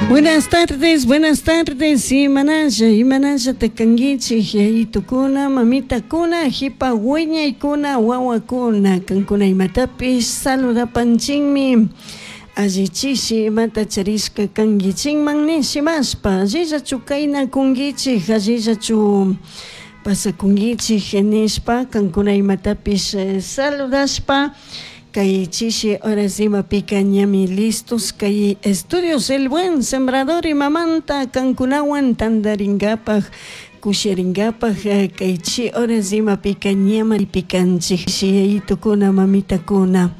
Buenas tardes, buenas tardes, imanalla, imanalla kankichik yayitukuna, mamitakuna, jipa wiñaykuna, wawakuna, kankuna imatapish saludapanchinmi. Allichishi imata charishka kankichikman nishimashpa, allillachu kaynakunkichik, allillachu pasakunkichik nishpa, kankuna imatapish saludashpa, kay chishi horas imapika ñami listos kay estudios El Buen Sembrador imamanta kankunawan tantarinkapak kushirinkapak kay chi horas imapika ñama pikanchik yayitukuna mamitakuna.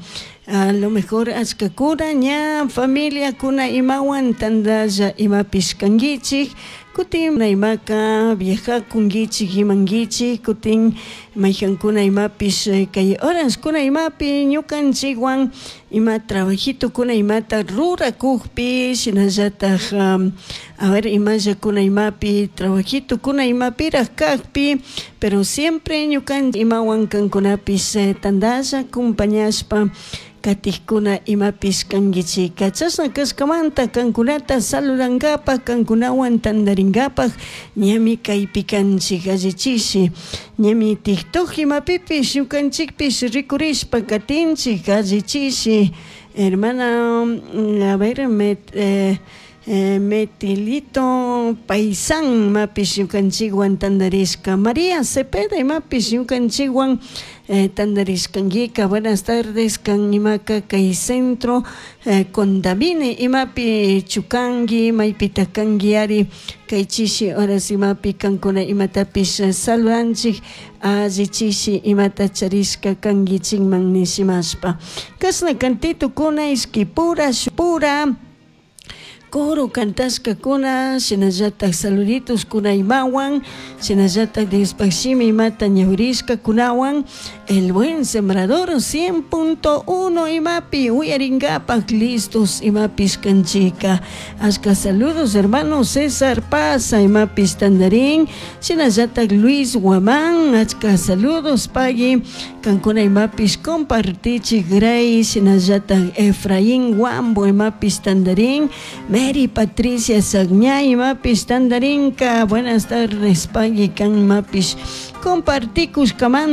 A lo mejor achkakuna ña familiakuna imawan tantalla imapish kankichik kutin imaka viajakunkichik imankichik kutin mayjankuna imapish kay horaskuna imapi ñukanchikwan ima trabajitukuna imata rurakukpi shinallatak a ver imallakuna imapi trabajitukuna imapirak kakpi pero siempre ñukanchik imawan kankunapish tantalla acompañashpa katikkuna imapish kankichika. Chashna kashkamanta kankunata saludankapak kankunawan tantarinkapak ñami kaypi kanchik allichishi ñami TikTok imapipish ñukanchikpish rikurishpa katinchik allichishi hermana a ver Metilito Paisan imapish ñukanchikwan tantarishka María Cepeda imapish ñukanchikwan tantarishkankika. Buenas tardes kan imaka kay centro Condamine imapi chukanki maypitak kanki ari kay chishi horas imapi kankuna imatapish saludanchik allichishi imata charishka kankichikman nishimashpa kashna kantitukuna ishkipura shukpura coro cantashkakuna shinallatak saluditos kuna imawan shinallatak Diospaj shimi imata ñawirishkakunawan El Buen Sembrador 100.1 imapi uyarinkapak listos imapish kanchika. Ashka saludos hermano César Paz imapish tandarin shinallatak Luis Guamán achka saludos pagui kankuna imapish compartichik Grace shinallatak Efraín Guambo imapish tandarin Mary Patricia Sagñay imapish tandarinka. Buenas tardes pagui kan imapish compartikushkamanta.